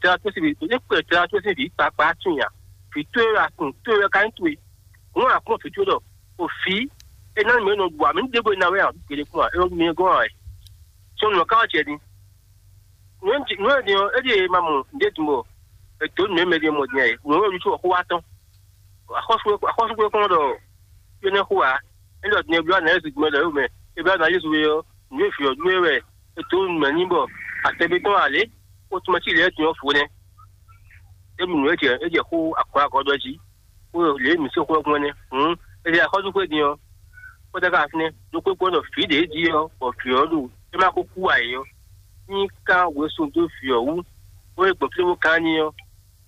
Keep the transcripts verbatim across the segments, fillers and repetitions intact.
tɛ́ ɔ́ sín vǐ, é kpe tɛ́ ɔ́ sín vǐ kpakpa tunwun nya. Vǐ towe wɛ a tunwun, towe wɛ ka nyí towe. Hǔn a kpɔ́n vǐ towe ɖɔ o fǐ é ná mɛ nɔ ɖu amǐ ɖěvo ná wɛ a ɖu gěɖé kpɔ́n a? É mi gɔ́n ǎ wɛ. Sɔ́ nǔ ɔ́ ka wá jɛ din. Nǔ e din ɔ́, é ɖíe ma mɔ nǔɖé din bɔ è dǒ nǔ e mɛ ɖé mɔ din ǎ é. Nǔ e ɖu xó wá tɔn. Axɔ́súgbé kɔn ɖɔ énɛ́ xó ǎ. É ɖɔ din e bló anǎ Jezu din ɔ́ ɖɔ é mɛ. É bló anǎ Jezu é ɔ́, nǔ e vǐ ɔ́ ɖu é wɛ è dǒ nǔ mɛ n'i bɔ atɛgbé tɔn ǎ lě. Ó tún mɛ cí lɛ́ɛ din ɔ́ fǒ nɛ́. É mɔ nǔ e jɛ é jɛ xó akɔ́ akɔ́ ɖɔ jí. Xó lě e mǐ sín xó ɔ́ gbɔn nɛ́. Hǔn è ɖe axɔ́súgbé din ɔ́, xó ɖagbe ɔ́ fínɛ́ ɖokpó kpɔ́n ɖɔ vǐ ɖě jí ɔ́, bɔ vǐ ɔ́ ɖo é ma ko kú ǎ é ɔ́, ní ka wezun dó vǐ ɔ́ wú, bó é gbɔn fí bó kán n'i ɔ́,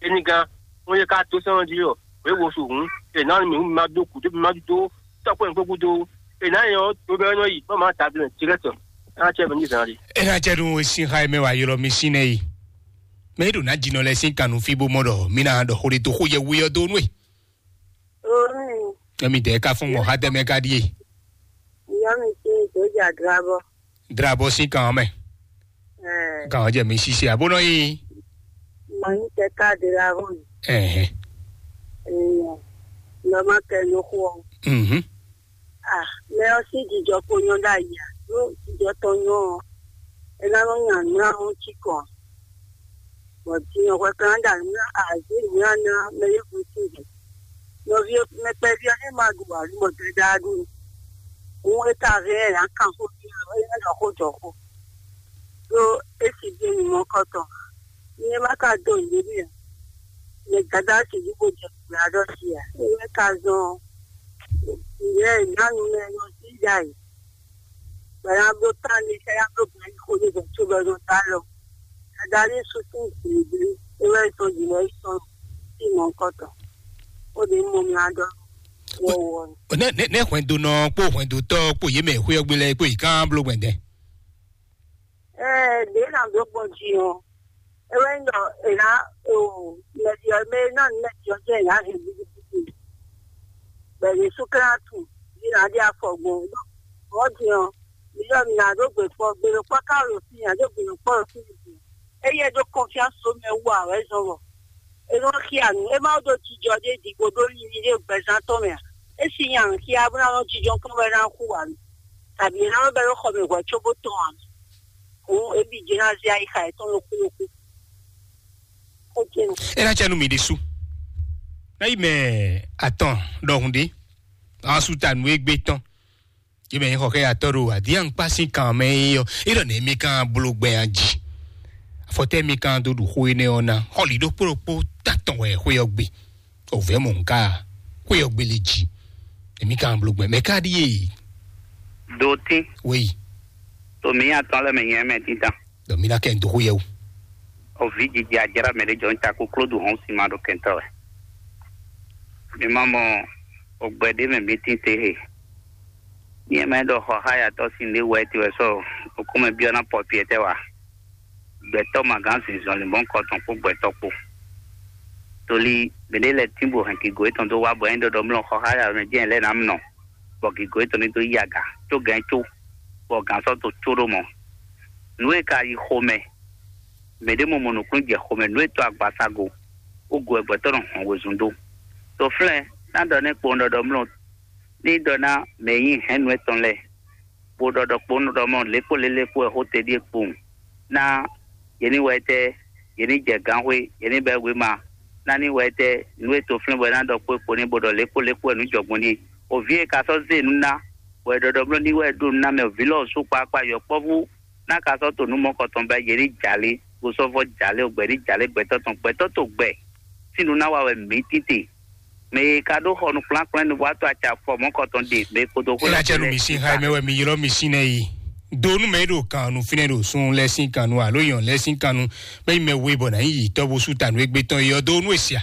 é ní gán, bó é ka dó sɛ́n ɔ́ jí ɔ́, wě wo su hǔn, è nǎ mì hǔn ma dó gǔdo, ma dó tɔ́kpɛ́n gbó gúdo, è nǎ nyɛ ɔ́, dó bɛ́ nɔ yi, bó ma ta blɛ́ direct, é ná cɛ mɛ ní zǎn ɖi. É ná cɛ nú e sín xá e mɛ wǎ ylɔ́ mì sín nɛ́ yi. Mɛ e ɖo nǎ jinɔ lɛ́ɛ sín kan nú fí bó mɔ ɖɔ mí ná ɖɔ xó ɖé dó xó yɛ we ɔ́ dó nú e. Orin, Emi dɛ ka fún mɔ ha dɛ mɛ ka ɖie. Ìyá mi sí ìdójà drabɔ. Drabɔ sín kan mɛ. Kan jɛ mi sisi abo nɔ yi. Mọ yín tẹ káàdì ra hàn. Ɛhɛn. Èèyàn lọ má kẹ ló xó ọ. Mhm. Ah, mɛ ɔ sí jijɔ kó nyɔ ɖ'ayǐ a? Ɖó jijɔ tɔn nyɔ ɔ, é ná nɔ nya nǔ ná nɔ cí kɔn. Bɔ din ɔ́, hwɛ kan ɖo nǔ azě nǔ ná ná mɛ e hwe sín jǐ. Nɔví ɔ́, mɛ kpɛví ɔ́, é ma ɖu ǎ, mɔ dɛdá ɖu. Hǔn é ka hɛn ɛ ǎ, kan xó jí ɔ́, é ná ɖɔ xó jɔ xó. Ɖó é si ɖó nyumɔkɔtɔn. Ní é ma ka dó nǔɖé n'i ǎ, mɛ dada sixú bó jɛ gbǎ ɖɔ jí ǎ. É wɛ ka zɔn ɔ́, nǔɖé ná nu mɛ nɔ jí ɖ'ayǐ. Bɔ nya bló tán ní sɛ́ nya bló gbɛ̌ xó ɖé gbɛ̌ có bɔ nɔ dó alɔ. Adarí sukú gběgbé é wɛ sɔn jǐ wɛ sɔn sí mɔ̌kɔtɔn. Ó ɖě mɔ mla ɖɔ wɔwɔ ni. Ne ne ne hwɛndo nɔ kpó hwɛndo tɔ kpó yé mɛ xwé ɔgbé lɛ kpó yi kán bló gbɛndɛ. Ɛɛ, ɖě nà dó gbɔn jí ɔ́, é wɛ nyí ɖɔ è nǎ o mɛɖi ɔ́ mɛ e ná nǔ mɛɖi ɔ́ jẹ́ è nǎ hɛn gbígbígbí. Bɛ̌ Jezu Klísu jí nǎ ɖe afɔ gbɔn. Mɔ̌ din ɔ́, mi ɖɔ mi nǎ ɖó gbe kpɔ́, gbe ɖokpɔ́ ka ɖo fí, nǎ ɖó gbe ɖokpɔ́ ɖo fí nìgbè. Éyɛ́ ɖó kɔnfyáns ɖó mɛ wú ǎ wɛ zɔn bɔ é nɔ xia nǔ. É má ɖó jijɔ ɖé ɖi bó ɖó linlin ɖé gbɛzán tɔn mɛ ǎ. É si nya nǔ xia bó ná nɔ jijɔ kpɔ́n wɛ ná xú ǎ. Tàbí é ná nɔ bɛ́ ɖó xɔ mɛ hwɛ̌ cóbó tɔn ǎ. Hǔn é bǐ jɛ ná zé ayixa yětɔn ɖokpó ɖokpó. Xó ce nɔ. É ná cɛ nú mi ɖésú. Ná yi mɛ atɔn ɖɔhun ɖé. Asú ta nǔ e gbé tɔn. Yě mɛ nyí xɔ xɛ atɔ́ ɖo adíyankpá sín kan mɛ é ɔ́, é ɖɔ nɛ̌ mí kan bló gbɛ jí. Afɔtɛ́ mí kan dó ɖu xó énɛ́ ɔ́ ná. Xɔlǐ ɖokpó ɖokpó tán tɔn wɛ xwé ɔ́ gbe. Òvɛ́ mɔ nǔ ká xwé ɔ́ gbélé jí. Èmi ka bló gbɛn mɛ ká ɖíe. Dotín. Wéyi. Tomi atɔn lɛ mɛ nyɛ mɛ títàn. Dɔ mi ná kɛ n dó xó yɛ o. Ovi jiji ajara mɛ ɖe jɔ n ta kó klódu hɔn si ma ɖo kɛntɔ wɛ. Mi ma mɔ ogbɛ ɖe mɛ mi tín te he. Nyɛ mɛ ɖɔ xɔ xá yatɔ sin ɖe wɛ ti wɛ sɔ okɔmɛ biɔ na pɔpiɛ tɛ wa. Gbɛtɔ ma gán sin zɔnlin bɔn kɔtɔn kpó gbɛtɔ kpó. Toli mɛɖé lɛ tín bo hɛn kigo etɔn dó wá bɔ é ɖɔɖɔ mlɔ xɔ xá yatɔ mɛ jɛn lɛ ná mlɔ. Bɔ gǐgó yětɔn ní dó yí aga có gǎn có, bɔ gǎn sɔ́ dó có ɖó mɔ. Nǔ e ka yi xomɛ, mɛ̌ ɖé mɔ mɔ nǔkplɔ́n jɛ xomɛ, nǔ e tɔ́ agbasago, ó go wɛ gbɛtɔ́ nɔ hɔn wezun dó. To flɛ́n ná ɖɔ nɛ́ kpowun ɖɔɖɔ mlɔ ní ɖɔ ná mɛ e nyí hɛ̌nnu étɔn lɛ́ɛ, bó ɖɔ ɖɔkpowun ɖɔ mɔ lě kpó lě lě kpó wɛ xó te ɖíe kpowun ná yě ní wɛ tɛ́, yě ní jɛ gǎnxwé, yě ní bɛ́ wěma, ná ní wɛ tɛ́, nǔ e toflɛ́n bɔ é ná ɖɔ kpó é kpo ní bó ɖɔ lě kpó lě kpó wɛ nǔ jɔ gbɔn n'i. Òví e ka sɔ́ zé nǔ ná, bɔ è ɖɔ ɖɔ bló ní wɛ ɖó nǔ ná mɛ, òví lɔ sú kpakpa yɔkpɔ́vú ná ka sɔ́ to nǔ mɔkɔ tɔn bɛ́ yě ní jalě, bó sɔ́ vɔ́ jalě, gbɛ̌ ní jalě gbɛtɔ́ tɔn, gbɛtɔ́ to gbɛ sín nǔ ná wa wɛ mǐ títí. Mɛ e ka ɖó xɔ nukplɔ́nkplɔ́n nu bó wá to acɛ afɔ mɔ̌kɔtɔn ɖe mɛ e kpodo xó. Ela cɛ nu mi sin xa mɛ wɛ mi ylɔ mi sin nɛ yi. Do nu mɛ e ɖo kan nu finɛ ɖo sun lɛ sin kan nu alo yɔn lɛ sin kan nu. Mɛ yi mɛ we bɔ na yi yi tɔ bo su ta nu egbe tɔn yi ɔ do nu esia.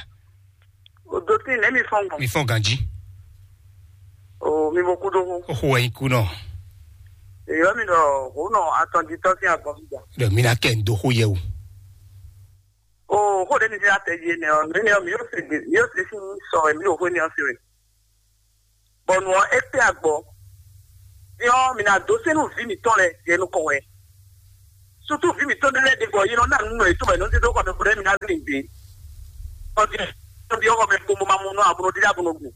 O do tin lɛ mi fɔn gbɔn. Mi fɔn ganji. O mi bo kudo ho. O ho wɛ yi ku nɔ. Eyɔ mi dɔ ho nɔ atɔn di tɔ sin agbɔn mi gba. Dɔ mi na kɛ n do ho yɛ o. O xó ɖé mi ɖe atɛ yi nɛ ɔ, mi nɛ ɔ, mi yóò se gbe, mi yóò se fún sɔ ɛ, mi yóò xó ní ɔ se wɛ. Bɔnu ɔ, é kpé agbɔ. Yɔ mi na dó sɛnú vi mi tɔn lɛ, yɛ nukɔn wɛ. Sutu vi mi tɔn lɛ de bɔ yi nɔ na nu nɔ yi to bɛ nɔ ti do kɔ mi fún mi na ɖě. Ɔ́, ɖi ɔ́, xɔ mɛ kpombo ma mɔ nɔ abro ɖi ɖa bro ɖu.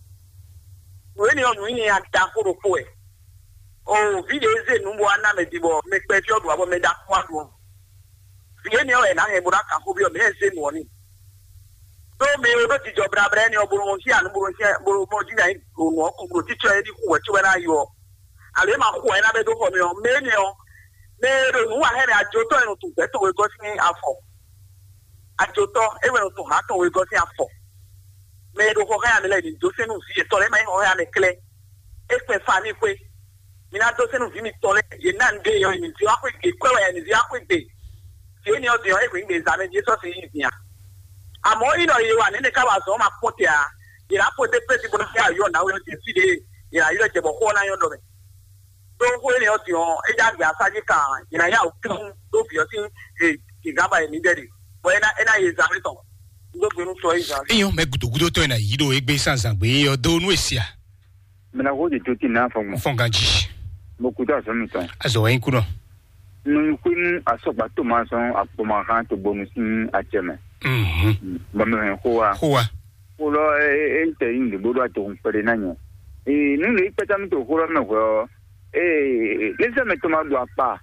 Nǔ énɛ́ ɔ́, nǔ nyi nya ɖaxó ɖokpó wɛ. O, vǐ ɖě zé nǔ bɔ wá ná mɛ din bɔ mɛ kpɛví ɔ́ ɖu abɔ mɛ ɖaxó wá ɖu ɔ́. Vǐ énɛ́ ɔ́ wɛ è nǎ hɛn bó ná kan xó byɔ́ mɛ ɛ zé nǔ ɔ́ n'i. Ɖó mɛ e ɖó jijɔ blabla énɛ́ ɔ́, bó nɔ xyá nǔ, bó nɔ xyá, bó nɔ mɔ jí nya nyi ɖo nǔ ɔ́ kɔn, bó ɖo títɔ é ní xú wɛ cóbɔ é ná yɔ. Alo é ma xú wɛ é ná bɛ́ dó xɔ mɛ ɔ́, mɛ énɛ́ ɔ́, mɛ e ɖo nǔ wa hɛn mɛ ajotɔ́ e nɔ tunwun gbɛ̌ tɔn wegɔ́ sín afɔ. Ajotɔ́ é wɛ nɔ tunwun hǎn tɔn wegɔ́ sín afɔ. Mɛ e ɖo xɔ xá ya mɛ lɛ́ɛ ní dó sɛ́n nú vǐ yětɔn lɛ́ɛ, é má nyí xɔ xá ya mɛ klɛ́. É kpɛn fa n'i xwé. Mi ná dó sɛ́n nú vǐ mitɔn lɛ́ɛ, yě ná nǔɖé yɔ, yě ní zé wá xwé gbe, kwɛ́ wɛ yě ní zé wá xwé gbe. Yě ní ɔ́ din ɔ́, é hwǐ gbe zǎn mɛ jí é sɔ́ sin yí din a. Àmọ́ é nɔ ye wa nɛ̌ nɛ́ ká wa zɔ̌n ma kpɔ́n te ǎ. Yě ná xwedó pɛ́si bó ná xyá yɔ nǎwe ɔ́ jɛ fí ɖě, yě ná ylɔ́ jɛ bɔ xó ɔ́ ná nyɔ́ ɖɔ mɛ. Ɖó xó énɛ́ ɔ́ din ɔ́, é já gbé asájí kan, yě ná yá wǔ kɛ́n dó vǐ ɔ́ sín gǐgán ba yě ní ɖɛ ɖe, bɔ é ná é ná ye zǎn mɛ tɔn. Un dó gbe nú tɔ é zǎn. Eyɔn mɛ gudogudotɔ e na yi ɖo egbe sanzangbe ɔ́ dó nú esia. Mɛ na xó ɖe tó tí nǎ fɔn gbɔn. Fɔn ganji. Mo kú tó azɔ̌ mitɔn. Azɔ wɛ nyi kú nɔ. Nɔ nyi xwé nú asɔgba tó ma sɔn akpɔmahan tó bonu sín acɛ mɛ. Mhm. Bɔ mɛ hɛn xó wa. Xó wa. Xó lɔ é é é tɛ yi nǔɖé bó ɖo atogun kpɛɖé ná nyɛ. Ee, nǔ ɖé kpɛtá mi to xó lɔ mɛ hwɛ ɔ́, ee, lé sɛ mɛ tó ma ɖo akpa.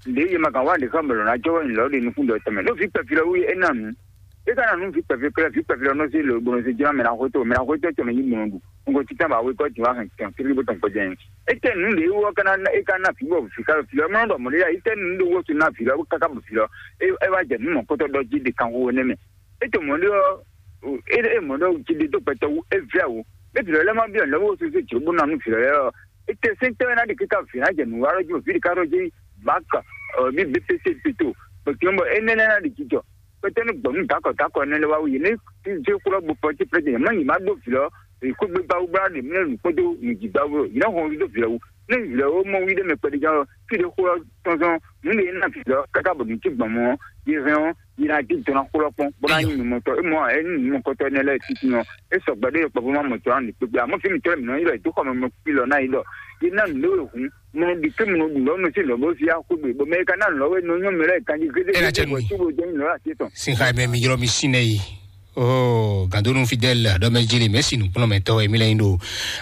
Ɖě yě ma kan wá ɖě xá mɛ lɔ̌ ná jɔ wɛ nyǐlɔ ɖe nukún ɖɔ tɛnmɛ. Ɖó vǐ kpɛví lɔ wú é ná nǔ. É ka ná nǔ vǐ kpɛví klɛ́, vǐ kpɛví lɔ nɔ sí lǒ gbɔn sí jɔ́n mɛ ná xwétó, mɛ ná xwétó tɛnmɛ yí mɔ ɖu. Un ko títàn bá wé kɔ́ jǐ wá hɛn tɛn kiri bó tɔn kpɔ́ jɛ́n. É tɛ nǔ ɖě wú ɔ́ ka ná é ka ná vǐ bɔ vǐ ka vǐ lɔ mɔ ɖɔ mɔ̌ ɖé yá, é tɛ nǔ ɖé wó sú ná vǐ lɔ káká bɔ vǐ lɔ é é wá jɛ nǔ mɔ̌kɔtɔ́ ɖɔ jí ɖe kanxó énɛ́ mɛ. É to mɔ̌ ɖé ɔ́, é é mɔ̌ ɖé ɔ́ jí ɖe dó gbɛtɔ́ wú é vɛ́ wǔ. É vǐ lɔ lɛ́ ma byɔ́ nǔ lɛ́ wó sú sí jǒ bó ná nú vǐ lɔ lɛ́ɛ ɔ́, é tɛ sɛ́ntɔ́ ɔ́ ná ɖi kíká vǐ ná jɛ nǔ wa ɖɔ jí vǐ ɖi ká ɖɔ jí bǎk ɔ bí B P C pito, bɔ tɔn bɔ énɛ́ lɛ́ɛ ná ɖi jijɔ. Kpɛtɛ́ nú gbɔ̌ nú dǎkɔ dǎkɔ énɛ́ lɛ́ɛ wá wú yě ní zé xó lɔ gbo pɔ́n cí plɛ́jɛ má nyi má ɖó vǐ lɔ, è kó gbé gbá wú bó ná ɖe mlɛ́ nǔ kpódó nǔjígbá wú yě ná hɔn wú dó vǐ lɔ wú. Ní vǐ lɔ ó mɔ wú ɖé mɛ kpɛɖé ján ɔ́, fí ɖé xó lɔ tɔn zɔn nǔ ɖé ná vǐ lɔ káká bɔ nǔ cí gbɔn mɔ ɔ́, yě hɛn ɔ́, yě ná dín dɔn ná xó lɔ kpɔ́n bó ná nyí nǔmɔtɔn. É mɔ ɛ nyí nǔmɔkɔtɔn énɛ́ lɛ́ɛ títí ɔ́, é sɔgbe ɖé yɔkpɔ́vú má mɔ tɔn á nǔ kpékpé. Àmọ́ fí mi tɔ́ mi nɔ yí lɔ è dó xɔ mɛ mɔ kpí lɔ ná yí lɔ yě ná nǔ ɖé wě hǔn. Mo ɖi ké mo ɖu lɔ̌ nɔ sí lɔ̌ bó sí axwé gbe, bɔ mɛ ka ná lɔ̌ wɛ nɔ nyɔ́ mɛ lɛ́ɛ kanjí gégé. Ela cɛ nú mi. Tó bo jɛ nyi lɔ̌ asi tɔn. Sinxa mɛ mi ylɔ́ mi sín nɛ yi. Oh, gandonu Fidèle aɖɔ mɛ jeli mɛ si nukplɔn mɛ tɔ mi lɛ yin ɖo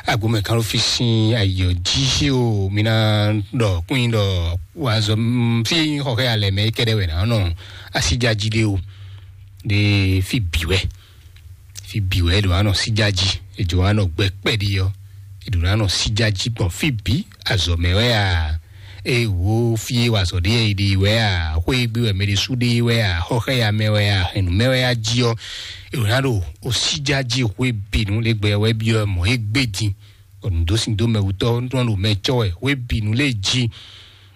agbo mɛ kan fi sin ayɔ ji o, mi na ɖɔ kun yin ɖɔ wa zɔ fi xɔxɛ alɛ mɛ kɛɖɛ wɛ na nɔ asi ja ji de o. De fi bi wɛ. Fi bǐ wɛ è ɖo wá nɔ síjá jí, è jǒ wá nɔ gbɛ kpɛɖi ɔ́, è ɖǒ ná nɔ síjá jí gbɔn fí bǐ. Azɔ̌ mɛ wɛ a, eye wǒ fí e wa azɔ̌ ɖe e ɖe wɛ a, xwé e gbe wɛ mɛ ɖé sú ɖe wɛ a, xɔxɛ́ya mɛ wɛ a, hɛ̌nnu mɛ wɛ a jí ɔ́, è ɖǒ ná ɖo o síjá jí xwé bǐ nú lě gbɛ wɛ byɔ́ mɔ̌ e gbé din. Bɔ nǔdósíndómɛwutɔ́ nɔ ɖo mɛ cɔ́ wɛ, xwé bǐ nú lě jí.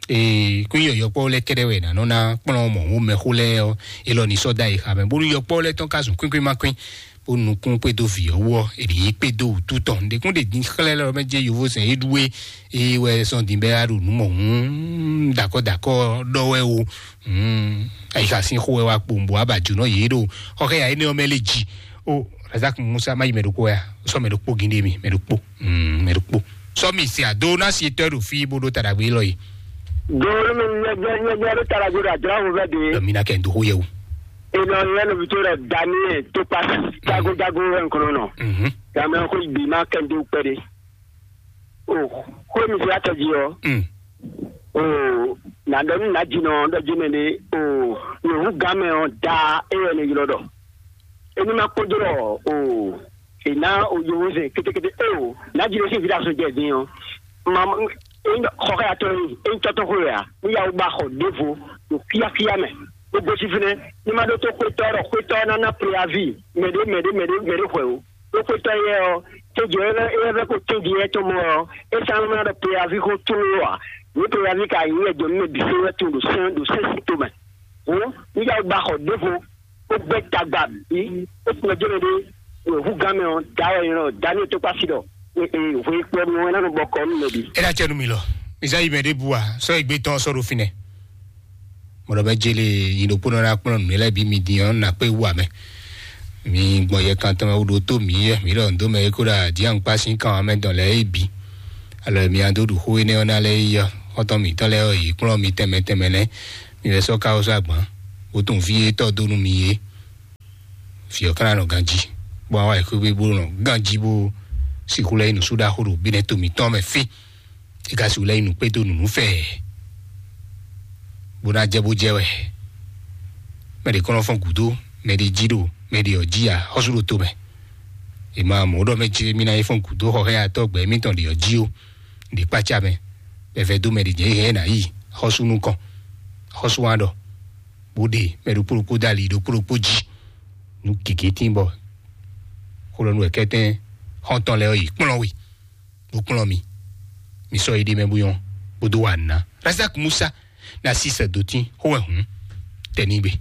Ee, kún yɔ yɔkpɔ́ lɛ́ɛ kɛ́ɖɛ́ wɛ è nǎ nɔ ná kplɔ́n mɔ̌ mɛxó lɛ́ɛ ɔ́, é lɔ ní sɔ́ dó ayixa mɛ, bónú yɔkpɔ́ lɛ́ɛ tɔn ka zun kwínkún má kwín, bó nukún kpédó vǐ ɔ́ wú ɔ́, è nǐ yi kpédó wǔtu tɔn. Nǔɖé kún ɖe dín xlɛ́ lɛ́ɛ mɛ jɛ yovózɛn é ɖú é, é wɛ sɔ́ din bɛ́ wá ɖo nǔ mɔ hǔn dakɔ́ dakɔ́ ɖɔ wɛ o. Hǔn ayixa sín xó wɛ wá kpowun bó wá ba jǒnɔ yě ɖo xɔxɛ́ya énɛ́ ɔ́ mɛ lé jí. Ó, Razak Musa má yi mɛ ɖokpó ya, sɔ́ mɛ ɖokpó gíndé mi, mɛ ɖokpó, mm, mɛ ɖokpó. Sɔ́ mi se ado ná si tɔ́ ɖo fí bó ɖó ta ɖagbe élɔ́ yi. Doo mi nyɛgbɛ nyɛgbɛ ɖo ta ɖagbe ɖo adzra ŋu vɛ de. Lɔ mi na kɛ ndo xó yɛ o. Ena yɛ no vito ɖe Daniel to pa jago jago wɛ nkɔnɔ nɔ. Mhm. Dame ko bi ma kɛ ndo kpɛ de. O, ko mi se atɔ ji ɔ. Mm. O, na dɔ ni na ji nɔ dɔ ji mɛ de. O, yevu game ɔ da e yɛ ne ylɔ dɔ. Eni ma kpɔdɔ o. Ena o yovo zɛ ketekete o. Na ji ne si vida so jɛ din ɔ. Ma xɔ ka ya tɔ ni. Eni tɔtɔ ko ya. Ni ya o ba xɔ devo. O kiakia mɛ. O gosi fɛnɛ. Ni ma ɖo to xwetɔ ɖɔ xwetɔ na na preavi. Mɛ de mɛ de mɛ de mɛ de xwɛ o. Ɖó xwetɔ́ yɛ ɔ́, tejɔ e e vɛ́ ko tɛ́nji yɛ tɔn mɔ ɔ́, é sán nɔ ɖɔ preyavi xó tlóló ǎ. Ní preyavi ka nyí yɛ jɔ mɛ bǐ fó wɛ tun ɖo sɛn ɖo sɛn si tomɛ. Hǔn, ní yá gba xɔ ɖěvo, bó gbɛ́ tagba bǐ, bó kplɔ́ jɛ́nɛ ɖé, ɖo húgán mɛ ɔ́, dǎ wɛ nyɔ́ dǎ ní tɔkpá sí ɖɔ, hwe kplɔ́ nu ɔ́, é ná nɔ bɔ kɔ nú mɛ bǐ. É ná cɛ nú mi lɔ. Mi zá yi mɛ ɖěbǔ a? Sɔ́ égbé tɔn ɔ́ sɔ́ ɖo fínɛ́. Mɔɖɔ bɛ jele yi ɖokpónɔ na kplɔ́n nǔ lɛ́ɛ bǐ mi din ɔ́, na kpé wú amɛ. Mi gbɔn yɛ kan tɔn mɛ wú ɖo tó mǐ yɛ, mǐ ɖɔ nǔ dó mɛ é kó ɖo adǐankpá sín kan ɔ́ mɛ dɔn lɛ́ɛ é bǐ. Alɔ mi a dó ɖu xó énɛ́ ɔ́ ná lɛ́ɛ é yɔ, xɔ́ntɔn mǐtɔn lɛ́ɛ ɔ́, yě kplɔ́n mi tɛnmɛ tɛnmɛ nɛ́. Mi lɛ́ sɔ́ ká ɔ́ sɔ́ agban, bó tunwun fí e tɔ́ dó nú mi é. Vǐ ɔ́ ka ná nɔ ganjí, bó wá wá yi xwé bó nɔ ganjí bó sixú lɛ́ nyí nǔsúɖaxó ɖo bínɛ́ to mǐtɔn mɛ fí. É ka sixú lɛ́ nyí nǔkpédó nǔnúfɛ. Bó ná jɛ bó jɛ wɛ. Mɛ ɖě kɔn nɔ fɔ́n gǔdo, mɛ ɖě jí ɖo mɛ ɖě ɔ́ jí ǎ, xɔ́sú ɖo to mɛ. È ma mɔ ɖɔ mɛ jí mì ná yi fɔ́n gǔdo xɔ xɛ́ atɔ́ gbɛ mítɔn ɖě ɔ́ jí ó. Ɖě kpácá mɛ, bɛfɛ dó mɛ ɖě jɛ hɛn ná yi xɔ́sú nukɔn. Xɔ́sú wá ɖɔ bó ɖe mɛ ɖokpó ɖokpó dó ali ɖokpó ɖokpó jí. Nǔ gěgé tín bɔ xó ɖɔ nú wɛ kɛ́tɛ́n xɔ́ntɔn lɛ́ɛ ɔ́ yi kplɔ́n we, bó kplɔ́n mi. Mi sɔ́ yi ɖ'é mɛ bó nyɔ́, bó dó wa nǔ ná. Razak Musa ná sí sɛ dó tín xó wɛ hǔn, tɛ ní gbe.